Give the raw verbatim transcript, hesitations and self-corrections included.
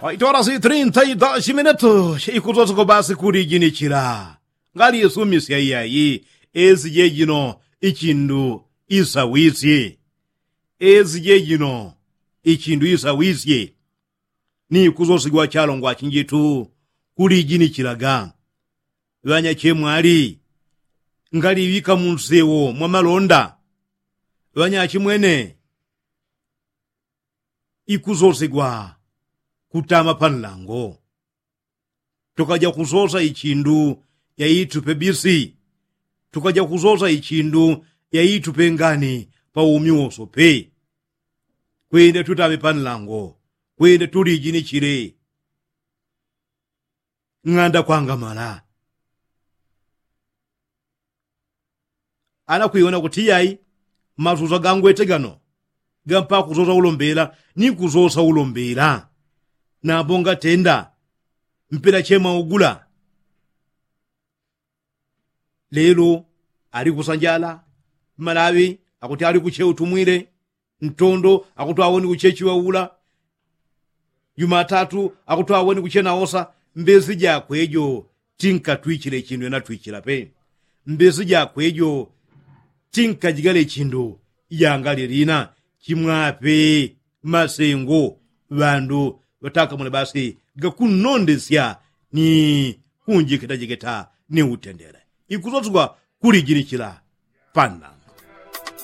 Itola si trinta i dos minutu. Ikusosiko basi kulijinichila. Ngali isumisya iyayi. Esi jejino ichindu isawisye. Esi jejino ichindu isawisye. Ni kusosigwa chalongwa chinjitu kulijinichilaga. Ŵanyachemwali, ngaliŵika munsewo mwa malonda. Ŵanyachimwene, ikusosigwa kutama panlango. Tukaja kusosa ichindu yaitupe bisi. Tukaja kusosa ichindu yaitupe ngani pa umi wosope. Kwenda tutame panlango. Kwenda tulijinichile. Ng'anda kwangamala. Ana kwiwona kuti yai, masusa gangwete gano gampa kusosa ulombela ni kusosa ulombela. Nambo ngatenda mpela chemwa ugula. Lelo ali kusanjala. Malaŵi akuti ali kuche utumwile. Ntondo akutwaweni kuchechiŵa ula. Jumatatu akutwaweni kuchena osa. Mbesi jakwejo tinkatwichile chindu yanatwichila pe. Mbesi jakwejo tinkajigale chindu yangalilina. Chimwape masengo ŵandu ŵatakamule basi gakunnondesya ni kunjiketajiketa ni utendele. Ikusoswa kulijinichila panna.